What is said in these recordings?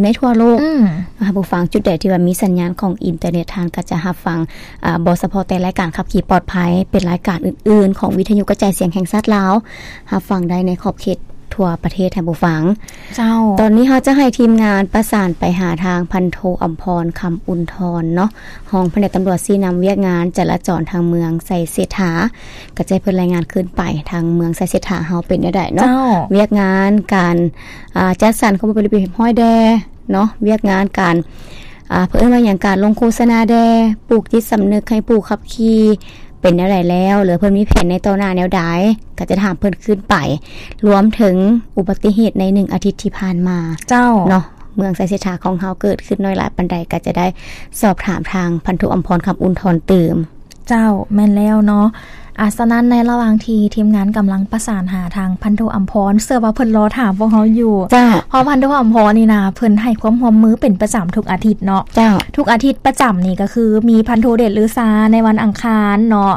ນໃນທົ່ວໂລກ. ອືມ ທ່ານຜູ້ຟັງ ຈຸດໃດທີ່ວ່າມີສັນຍານຂອງອິນເຕີເນັດ ທ່ານກໍຈະຮັບຟັງ ອາ ບໍ່ສະເພາະແຕ່ລາຍການຂັບຂີ່ປອດໄພ, ເປັນລາຍການອື່ນໆຂອງວິທະຍຸກະຈາຍສຽງແຫ່ງຊາດລາວ ຮັບຟັງໄດ້ໃນຂອບເຂດທົ່ວປະເທດ ທ່ານຜູ້ຟັງ. ເຈົ້າ ຕອນນີ້ເຮົາຈະໃຫ້ທີມງານປະສານໄປຫາທາງພັນໂທ ອຳພອນ ຄຳອຸ່ນທອນເນາະ, ຮອງພະແນກຕຳຫຼວດຊີ້ນຳວຽກງານຈະລາຈອນທາງເມືອງໄຊເສດຖາ, ກໍຈະໃຫ້ເພິ່ນລາຍງານຄືນໄປທາງເມືອງໄຊເສດຖາເຮົາເປັນແນວໃດເນາະ. ເຈົ້າ ວຽກງານການ ອ່າ ຈັດສັນຂອງບໍລິເວນຮອຍແດ່ເນາະ, ວຽກງານການ ອ່າ ເພິ່ນເອີ້ນວ່າຫຍັງ ການລົງໂຄສະນາແດ່, ປູກຈິດສຳນຶກໃຫ້ຜູ້ຂັບຂີ່ເປັນແນວໃດແລ້ວ ຫຼືເພິ່ນມີແຜນໃນຕໍ່ໜ້າແນວໃດ ກໍຈະຖາມເພິ່ນຄືນໄປ, ລວມເຖິງອຸບັດຕິເຫດໃນໜຶ່ງອາທິດທີ່ຜ່ານມາ. ເຈົ້າ ເນາະ, ເມືອງໄຊເສດຖາຂອງເຮົາເກີດຂຶ້ນໜ້ອຍຫຼາຍປານໃດ ກໍຈະໄດ້ສອບຖາມທາງພັນໂທ ອຳພອນ ຄຳອຸ່ນທອນຕື່ມ. ເຈົ້າ ແມ່ນແລ້ວເນາະ. ອາ ສະນັ້ນໃນລະຫວ່າງທີ່ທີມງານກຳລັງປະສານຫາທາງພັນໂທ ອຳພອນ ເຊື່ອວ່າເພິ່ນລໍຖາມພວກເຮົາຢູ່. ເຈົ້າ ເພາະພັນໂທ ອຳພອນນີ້ນະ ເພິ່ນໃຫ້ຄວາມຮ່ວມມືເປັນປະຈຳທຸກອາທິດເນາະ. ເຈົ້າ ທຸກອາທິດປະຈຳນີ້ກໍຄືມີພັນໂທ ເດດລືຊາ ໃນວັນອັງຄານເນາະ,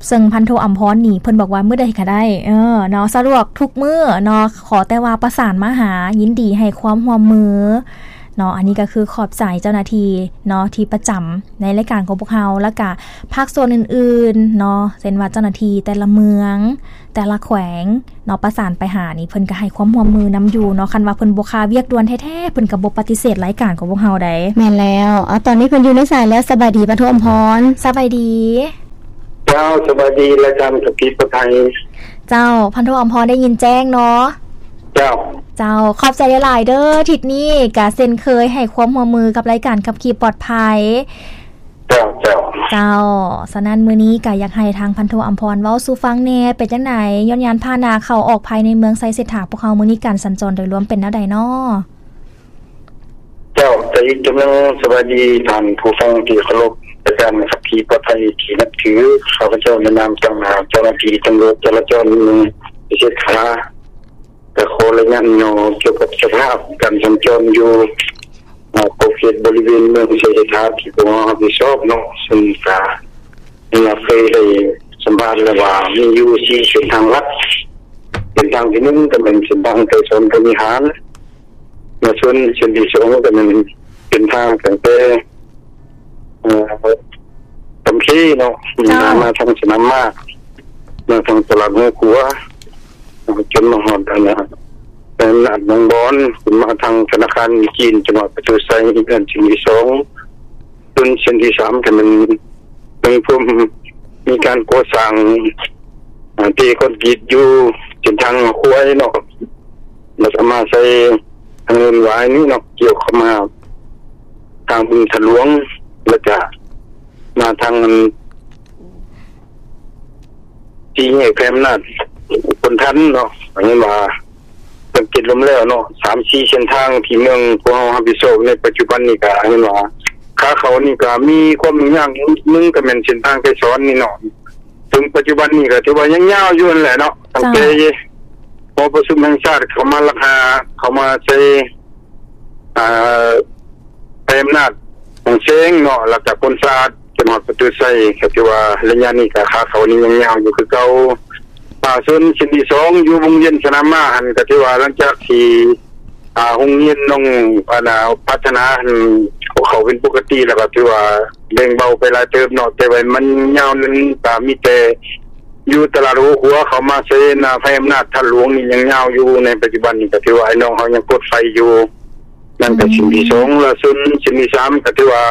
ເຊິ່ງພັນໂທ ອຳພອນນີ້ເພິ່ນບອກວ່າມື້ໃດກໍໄດ້ ເອີ ເນາະ, ສະດວກທຸກມື້ເນາະ, ຂໍແຕ່ວ່າປະສານມາຫາ, ຍິນດີໃຫ້ຄວາມຮ່ວມມືເນາະ. ອັນນີ້ກໍຄືຂອບໃຈເຈົ້າໜ້າທີ່ເນາະ ທີ່ປະຈຳ ໃນລາຍການຂອງພວກເຮົາ ແລ້ວກະພາກສ່ວນອື່ນໆເນາະ, ເຊັ່ນວ່າເຈົ້າໜ້າທີ່ແຕ່ລະເມືອງ ແຕ່ລະແຂວງເນາະ ປະສານໄປຫານີ້ ເພິ່ນກະໃຫ້ຄວາມຮ່ວມມືນຳຢູ່ເນາະ. ຄັນວ່າເພິ່ນບໍ່ຄາວຽກດ່ວນແທ້ໆ ເພິ່ນກະບໍ່ປະຕິເສດລາຍການຂອງພວກເຮົາໃດ. ແມ່ນແລ້ວ. ເອົາ ຕອນນີ້ເພິ່ນຢູ່ໃນສາຍແລ້ວ. ສະບາຍດີ ພັນໂທ ອຳພອນ. ສະບາຍດີ. ເຈົ້າ ສະບາຍດີ ລາຍການຂັບຂີ່ປອດໄພ. ເຈົ້າ ພັນໂທ ອຳພອນ ໄດ້ຍິນແຈ້ງເນາະ. ເຈົ້າ ເຈົ້າ ຂອບໃຈຫຼາຍໆເດີ ທິດນີ້ກະເຊັ່ນເຄີຍໃຫ້ຄວາມຮ່ວມມືກັບລາຍການຂັບຂີ່ປອດໄພ. ເຈົ້າ ເຈົ້າ ເຈົ້າ. ສະນັ້ນມື້ນີ້ກະຢາກໃຫ້ທາງພັນໂທ ອຳພອນ ເວົ້າສູ່ຟັງແດ່ ເປັນຈັ່ງໃດ ຍ້ອນຍານພາຫະນະເຂົ້າອອກພາຍໃນເມືອງໄຊເສດຖາພວກເຮົາ ມື້ນີ້ການສັນຈອນໂດຍລວມເປັນແນວໃດເນາະ? ເຈົ້າ ກະອີກເທື່ອໜຶ່ງ ສະບາຍດີທ່ານຜູ້ຟັງທີ່ເຄົາລົບ, ລາຍການຂັບຂີ່ປອດໄພທີ່ນັບຖື, ຂ້າພະເຈົ້າໃນນາມຕາງໜ້າເຈົ້າໜ້າທີ່ຕຳຫຼວດຈະລາຈອນເມືອງໄຊເສດຖາ ກະຂໍລາຍງານຫຍໍ້ກ່ຽວກັບສະພາບການສັນຈອນຢູ່ ອາ ຂອບເຂດບໍລິເວນເມືອງໄຊເສດຖາທີ່ພວກເຮົາຮັບຜິດຊອບເນາະ, ເຊິ່ງກະ ເຮົາເຄີຍໄດ້ສຳພາດແລ້ວວ່າມີຢູ່ສີ່ເສັ້ນທາງຫຼັກ. ເສັ້ນທາງທີໜຶ່ງກະແມ່ນເສັ້ນທາງໄກສອນພົມວິຫານ, ມາຊົນເສັ້ນທີສອງກະແມ່ນເສັ້ນທາງຕັ້ງແຕ່ ເອີ ຄຳເຄເນາະ, ເຈົ້າ ມາ ມາທາງສະໜາມມ້າ, ມາທາງຕະຫຼາດຫົວຂົວ, ຈົນມາຮອດອັນນະ ຕະຫຼາດໜອງບອນ, ຂຶ້ນມາທາງທະນາຄານຈີນ ຈັງຫວັດປະຕູໄຊ, ອັນເສັ້ນທີສອງ. ສ່ວນເສັ້ນທີສາມກະແມ່ນຍັງຄົງມີການກໍ່ສ້າງ ອາ ເທຄອນກຣີດຢູ່ເສັ້ນທາງຄວາຍເນາະ, ແລ້ວກະມາໃສ່ທາງເນີນຫວາຍນີ້ເນາະ, ກ່ຽວເຂົ້າມາທາງບຶງທາດຫຼວງ, ແລ້ວກະມາທາງອັນ ສີ່ແຍກໄພອຳນາດຄົນທັນເນາະ, ເຫັນວ່າສັງເກດລວມແລ້ວເນາະ ສາມສີ່ເສັ້ນທາງທີ່ເມືອງພວກເຮົາຮັບຜິດຊອບໃນປັດຈຸບັນນີ້ ກະເຫັນວ່າ ຂາເຂົ້ານີ້ກໍມີຄວາມຫຍຸ້ງຍາກຢູ່ໜຶ່ງ ກໍແມ່ນເສັ້ນທາງໄກສອນນີ້ເນາະ. ເຖິງປັດຈຸບັນນີ້ກໍຖືວ່າຍັງຍາວຢູ່ຫັ້ນແຫຼະເນາະ, ຕັ້ງແຕ່ ເຈົ້າ ຫໍປະຊຸມແຫ່ງຊາດເຂົ້າມາລັກຫາ ເຂົ້າມາໃສ່ ອ່າ ໃຊ້ອຳນາດຂອງເຊງເນາະ ແລ້ວກໍພົນສະອາດ ຈົນຮອດປະຕູໄຊ ກໍຖືວ່າໄລຍະນີ້ກໍຂາເຂົ້ານີ້ຍັງຍາວຢູ່ຄືເກົ່າ. ອ່າ ສ່ວນເສັ້ນທີສອງ ຢູ່ວົງວຽນສະໜາມມ້າຫັ້ນ ກໍຖືວ່າຫຼັງຈາກທີ່ ອ່າ ໂຮງຮຽນນ້ອງ ອັນນ່າ ພັດທະນາຫັ້ນ ເຂົ້າເປັນປົກກະຕິ ແລ້ວກໍຖືວ່າແບ່ງເບົາໄປຫຼາຍເຕີບເນາະ, ແຕ່ວ່າມັນຍາວນັ້ນກໍມີແຕ່ຢູ່ຕະຫຼາດຫົວຂົວ ເຂົ້າມາໃສ່ໜ້າໄຟອຳນາດທາດຫຼວງນີ້ຍັງຍາວຢູ່. ໃນປັດຈຸບັນນີ້ກໍຖືວ່າໄອ້ນ້ອງເຮົາຍັງປົດໄຟຢູ່. ນັ້ນກໍ ອືມ ເສັ້ນທີສອງ ແລ້ວສ່ວນເສັ້ນທີສາມ ກໍຖືວ່າ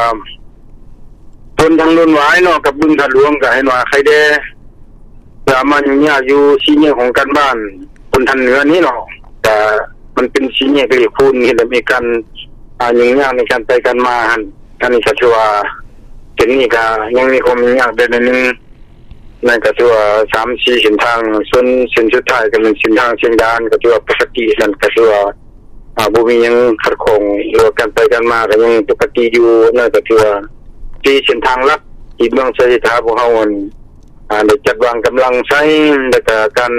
ໂຊນທາງໂນນຫວາຍເນາະ ກັບບຶງທາດຫຼວງ ກໍເຫັນວ່າໄຄແດ່ ຈະມາຫຍຸ້ງຍາກຢູ່ສີ່ແຍກຂອງການບ້ານ ໂຊນທາງເໜືອນີ້ເນາະ, ກະມັນເປັນສີ່ແຍກເລກຄູນ ເຮັດໃຫ້ມີການ ອ່າ ຫຍຸ້ງຍາກໃນການໄປການມາຫັ້ນ. ອັນນີ້ກໍຖືວ່າ ເສັ້ນນີ້ກໍຍັງມີຄວາມຫຍຸ້ງຍາກໄດ້ໜ້ອຍໜຶ່ງ. ນັ້ນກໍຖືວ່າສາມສີ່ເສັ້ນທາງ, ສ່ວນເສັ້ນສຸດທ້າຍກໍແມ່ນເສັ້ນທາງຊຽງດານ ກໍຖືວ່າປົກກະຕິ, ນັ້ນກໍຖືວ່າ ອ່າ ບໍ່ມີຫຍັງຂັດຂ້ອງ ຫຼືວ່າການໄປການມາກໍຍັງປົກກະຕິຢູ່. ນັ້ນກໍຖືວ່າສີ່ເສັ້ນທາງຫຼັກທີ່ເມືອງໄຊເສດຖາພວກເຮົາ ອັນ ອ່າ ໄດ້ຈັດວາງກຳລັງໃຊ້ ແລ້ວກໍການ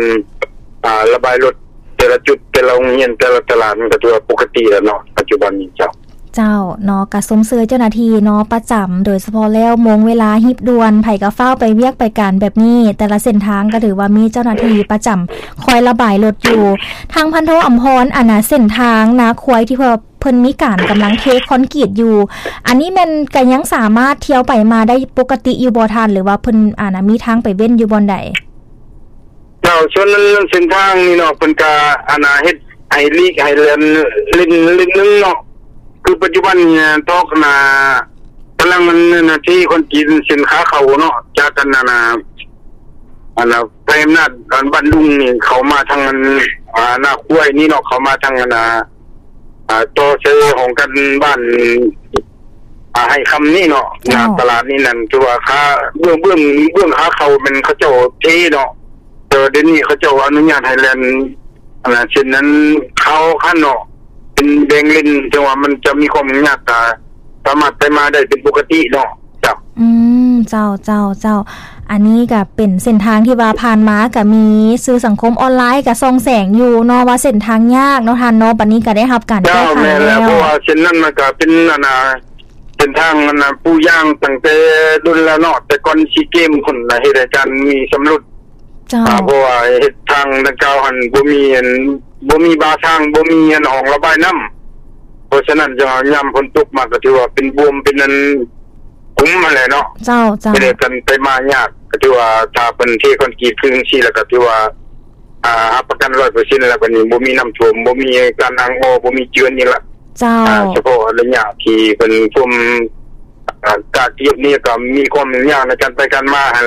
ອ່າ ລະບາຍລົດແຕ່ລະຈຸດ ແຕ່ລະໂຮງຮຽນ ແຕ່ລະຕະຫຼາດ ມັນກໍຖືວ່າປົກກະຕິແລ້ວເນາະ ປັດຈຸບັນນີ້ເຈົ້າ. ເຈົ້າເນາະ ກະຊົມເຊີຍເຈົ້າໜ້າທີ່ເນາະ ປະຈຳ ໂດຍສະເພາະແລ້ວໂມງເວລາຮີບດ່ວນ ໃຜກະຟ້າວໄປວຽກໄປການແບບນີ້ ແຕ່ລະເສັ້ນທາງກະຖືວ່າມີເຈົ້າໜ້າທີ່ປະຈຳຄອຍລະບາຍລົດຢູ່. ທາງພັນໂທອຳພອນ ອັນນ່າ ເສັ້ນທາງນາຄວາຍທີ່ເພິ່ນ ເພິ່ນມີການກຳລັງເທຄອນກຣີດຢູ່ ອັນນີ້ແມ່ນກະຍັງສາມາດທຽວໄປມາໄດ້ປົກກະຕິຢູ່ບໍ່ທ່ານ ຫຼືວ່າເພິ່ນ ອັນນ່າ ມີທາງໄປເວັ້ນຢູ່ບ່ອນໃດ? ເຈົ້າ ສ່ວນເສັ້ນທາງນີ້ເນາະ ເພິ່ນກະ ອັນນ່າ ເຮັດໃຫ້ຫຼີກໃຫ້ແລ່ນເລນ ເລນໜຶ່ງເນາະ. ຄືປັດຈຸບັນນີ້ ທອກ ອັນນ່າ ກຳລັງ ອັນ ອັນ ເທຄອນກຣີດເສັ້ນຂາເຂົ້າເນາະ ຈາກ ອັນ ອັນນ່າ ອັນນ່າ ໄຟອຳນາດ ອັນ ບ້ານດຸງນີ້ ເຂົ້າມາທາງ ອັນ ອ່າ ນາຄວາຍນີ້ເນາະ ເຂົ້າມາທາງ ອັນ ອ່າ ອ່າ ຕໍ່ໃສ່ຫ້ອງການບ້ານ ອ່າ ໄຮ່ຄຳນີ້ເນາະ ເຈົ້າ ໜ້າຕະຫຼາດນີ້ນັ້ນ ຖືວ່າຂາ ເບື້ອງ ເບື້ອງ ເບື້ອງຂາເຂົ້າແມ່ນເຂົາເຈົ້າເທເນາະ, ແຕ່ວ່າດຽວນີ້ເຂົາເຈົ້າອະນຸຍາດໃຫ້ແລ່ນ ອັນນ່າ ເສັ້ນນັ້ນເຂົ້າຄັນເນາະ ເປັນແບ່ງເລນ ເຖິງວ່າມັນຈະມີຄວາມຫຍຸ້ງຍາກ ກະສາມາດໄປມາໄດ້ເປັນປົກກະຕິເນາະ. ເຈົ້າ ອືມ ເຈົ້າ ເຈົ້າ ເຈົ້າ ອັນນີ້ກະເປັນເສັ້ນທາງທີ່ວ່າຜ່ານມາກະມີສື່ສັງຄົມອອນລາຍກະສ່ອງແສງຢູ່ເນາະ ວ່າເສັ້ນທາງຍາກເນາະທ່ານເນາະ, ບັດນີ້ກະໄດ້ຮັບການແກ້ໄຂແລ້ວ. ເຈົ້າ ແມ່ນແລ້ວ ເພາະວ່າເສັ້ນນັ້ນມັນກະເປັນ ອັນນ່າ ເສັ້ນທາງ ອັນນ່າ ປູຢາງຕັ້ງແຕ່ດົນແລ້ວເນາະ, ແຕ່ກ່ອນຊີເກມພຸ້ນນະ ເຮັດໃຫ້ການມີຊຳລຸດ. ເຈົ້າ ອ່າ ເພາະວ່າເຮັດທາງດັ່ງກ່າວຫັ້ນບໍ່ມີ ອັນ ບໍ່ມີບາທາງ ບໍ່ມີ ອັນ ຮ່ອງລະບາຍນ້ຳ, ເພາະສະນັ້ນຈັ່ງວ່າຍາມຝົນຕົກມາກໍຖືວ່າເປັນບວມ ເປັນ ອັນ ຂຸມຫັ້ນແຫຼະເນາະ. ເຈົ້າ ເຈົ້າ ເຮັດໃຫ້ການໄປມາຍາກ, ກໍຖືວ່າຖ້າເພິ່ນເທຄອນກຣີດຄືຈັ່ງຊີ້ແລ້ວ ກໍຖືວ່າ ອ່າ ຮັບປະກັນຮ້ອຍເປີເຊັນແລ້ວ ບັດນີ້ບໍ່ມີນ້ຳຖ້ວມ ບໍ່ມີການອັ່ງອໍ ບໍ່ມີເຈື່ອນອີກລະ. ເຈົ້າ ອ່າ ສະເພາະໄລຍະທີ່ເພິ່ນຖ້ວມ ອ່າ ກາກຽບນີ້ກໍມີຄວາມຫຍຸ້ງຍາກໃນການໄປການມາຫັ້ນແຫຼະ